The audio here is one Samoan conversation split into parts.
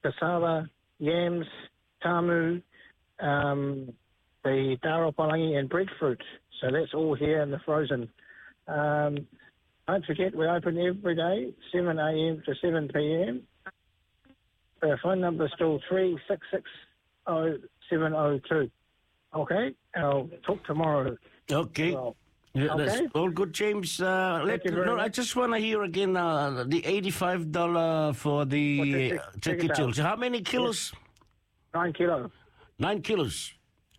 cassava, yams, tamu, the taro palangi and breadfruit. So that's all here in the frozen. Don't forget, we open every day, 7 a.m. to 7 p.m. Our phone number is still 3660702. Okay, I'll talk tomorrow. Okay. Well, Yeah, that's okay. all good, James. Thank you very No, I much. just want to hear again the $85 for the For turkey, turkey turkey tail. tail. So how many kilos? Yes. 9 kilos. 9 kilos.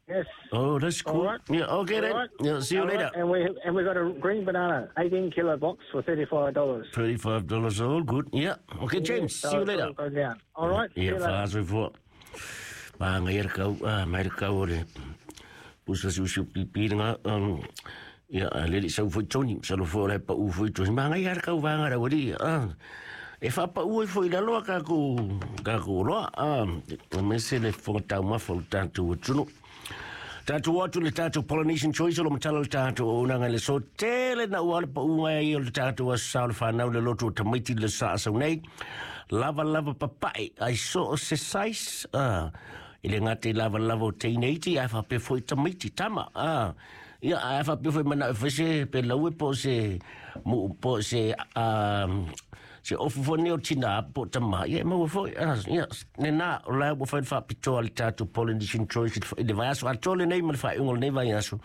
Yes. Oh, that's All cool. right. Yeah, okay All then. right. Yeah, see you All right. later. And we got a green banana, 18 kilo box for $35. $35, all good. Yeah. Okay, James, So see you it's later. all go down. All right. See Ia you later. whaasoi fua. Pānga ia kau, mai le kau o le pusa siusiu pipiringa. Ia, a lele sau foi Tony, sa lo fua o le pa u foi Tony. Maanga ia kau vanga ra wari. E whapa ua foi la loa ka ku loa. Me se le fonga tau mafa o le tātou atunu. Tātou atu le tātou Polynesian Choice o lo matala le tātou o unanga le so tele na ua le pa unga i o le tātou a sa o le whanau le loto o tamaiti le sa asau nei. Lava lava papai ai so o se size. I le ngate lava lava o teineiti ai whape foi tamaiti tama. Ia ai whape foi mana e whese pe laue po se mu po se se ofu fo neo tina po tama. Ia maua foi. Ia ne nā o lai ua whai whapitoa le tātou Polynesian Choice i le vaiaso a tole nei ma le whaiunga o lenei vaiaso.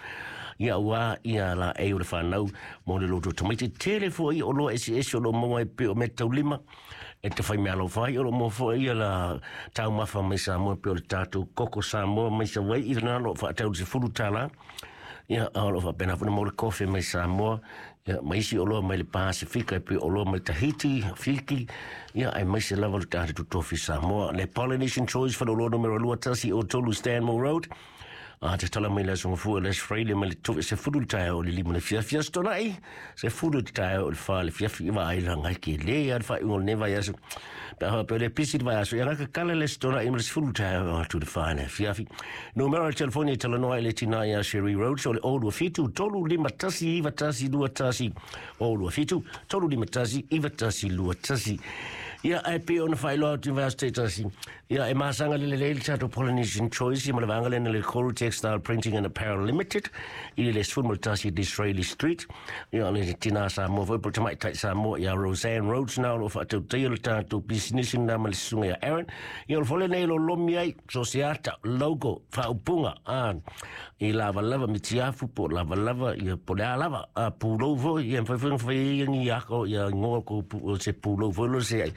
Ia ua ia la e o le whanau mo le loto tamaiti. Tele foi o loa esi esi o lo maua e pe o me taulima. E te whai mea alo whai o lo mua foi ia la tau mafa mai Samoa pe o le tātou koko Samoa mai sa wai i le nā lo whaatau se fulu tāla. Ia, o lo whapena funa mo le kofe mai Samoa. Ia, mai isi o loa mai le Pasifika, e pe o loa mai Tahiti, Fiki. Ia, ai mai se lava le tātou tofi Samoa. Le Polynesian Choice whano loa numero lua tasi o tolu Stanmore Road. Te tala mai le aso fua les Freile mai le tofi se fulu tae o le lima le fiafia stonai. Se fulu tae o le wha le fiafi i vai la ngai ke le ia le wha ingo le vai aso. Pe hawa pe le pisi le vai aso. Ia raka kala le stonai mai le se fulu tae o atu le wha le fiafi. Numero le telefoni e talanoa i le tina ia Sherry Road. So le o 2 7 3 5 1 9 1 2 1 o 2 7 3 5 1 9 1 2 1. Ia ai pe ona whailoa atu vai aso te tasi. Ia e masanga le le le tato Polynesian Choice i ma le vanga lena le Coral Textile Printing and Apparel Limited i le sfun mo le tasi Disraeli Street. Ia le tina Samoa foi po tamai tai Samoa ia Roseanne Rhodes na o whaatau teia le tātou business na ma le sunga ia Aaron. Ia o le fole nei lo lomi ai so se ata logo whaupunga i lava lava mitiafu po lava lava ia po le a lava a pulou foi ia mwhai whai whai ia ngi ako ia ngoa ko se pulou foi lo se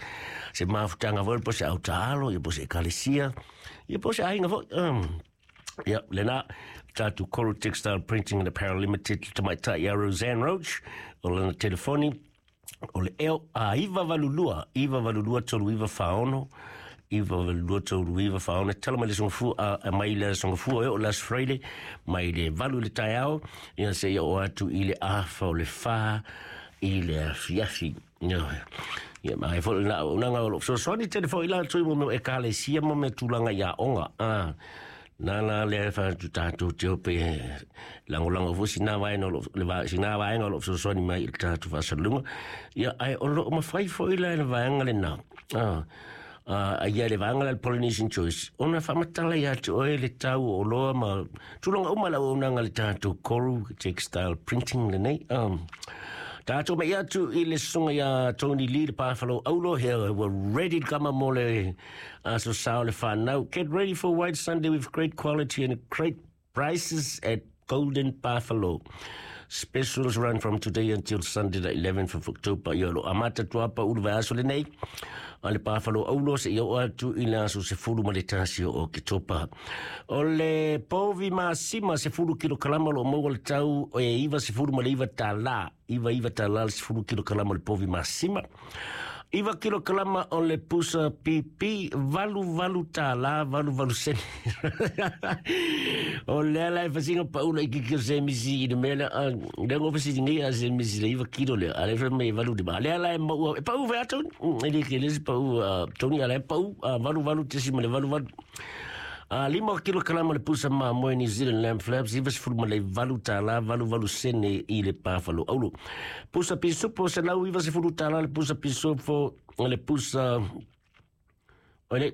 se mafutanga foi po se autaalo ia po se ekalesia ia po se ainga foi. Ia, lena, tātou Coral Textile Printing and Apparel Limited, tamai tai ia Roseanne Roach, o lana telefoni, o le eo a iwa valulua, iwa valulua tolu iwa whaono, iwa valulua tolu iwa whaono, tala mai le songa fua, a mai le songa fua e o last Friday, mai le valu le taiao, ia se ia o atu i le awha o le wha, i le afiafi. Ia, mai fo na unanga o lo. So swani telefoni la tui mo me e kalesia mo me tūlanga ia onga. Nā la le wha tu tātou te ope lango lango fo sina vaenga o lo le va sina vaenga o lo so swani mai i le tātou whasalunga. Ia ai o lo mawhai fo i la le vaenga le nā. Ia le vaenga le Polynesian Choice. Ona whamatala ia te oe le tau o loa ma tūlanga uma la unanga le tātou Coral Textile Printing le nei. Tātou mai atu i le sunga ia Tony Lee le Pāwhalo Aulo here. We're ready to come mo le aso sao le whanau. Get ready for White Sunday with great quality and great prices at Golden Buffalo. Specials run from today until Sunday the 11th of October. Ia lo amata tuapa ulu vai aso le nei. A le Buffalo Aulo se ia o atu i le aso se fulu ma le tasi o Oketopa. O le povi masima se fulu kilo kalama lo maua le tau e iwa se fulu ma le iwa tālā. Iwa iwa tālā le se fulu kilo kalama le povi masima. Iwa kilo kalama o le pusa pipi valu valu tālā valu valu sene. O le ala e whasinga paula i kiki o se misi i le mea le ngo whasi ngi a se misi le iwa kilo le ale wha me valu di ba. Le ala e maua e pau whea toni. E le ke le se pau toni ala e pau valu valu tesi ma le valu valu. Lima kilo kalama le pusa ma moe New Zealand lamb flaps, iwa sefulu ma le valu tālā, valu valu sene i le pāwhalo aulo. Pusa pisupo se lau iwa sefulu tālā le pusa pisupo le pusa. Ole